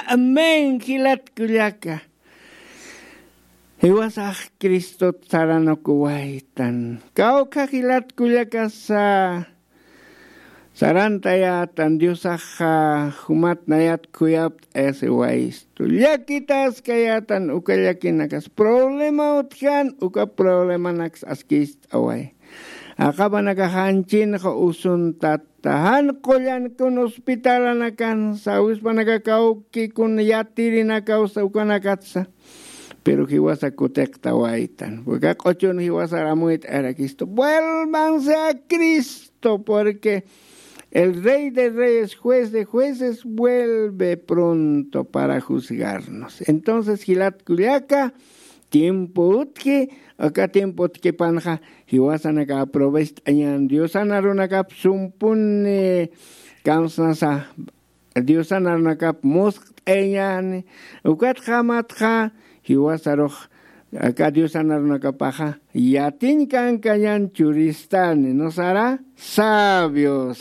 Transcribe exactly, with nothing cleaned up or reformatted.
Amén, jilat kullaka. Jiwasax Cristot saranukuwaytan. Kawkha jilat kullakasa sarantayätan, Diosaxa jumat nayat khuyapt'ayasiwayistu. Llakitaskayätan uka llakinakas. Problema utjan, uka problemanaks askist'away. Aqapanakax janchinxa usuntat jan qullankun hospitalanakansa, awispanaka kawkikun yatirinakawsa ukanakatsa. Pero jiwasa kutiqtawaytan. Porque q'uchun jiwasar amuyt'ayarakistu. Vuélvanse a Cristo, porque el Rey de Reyes, Juez de Jueces, vuelve pronto para juzgarnos. Entonces, jilat kullaka, tiempo utji, aka tiempo utjipanxa, jiwasanaka aprovecht'añän, Diosan arunakap sumpuni kamsnasa, Diosan arunakap musqt'añäni, ukatxa matxa, jiwasarux, aka Diosan arunakapaxa, yatiñ kankañän churistani, ¿no sara? Sabios.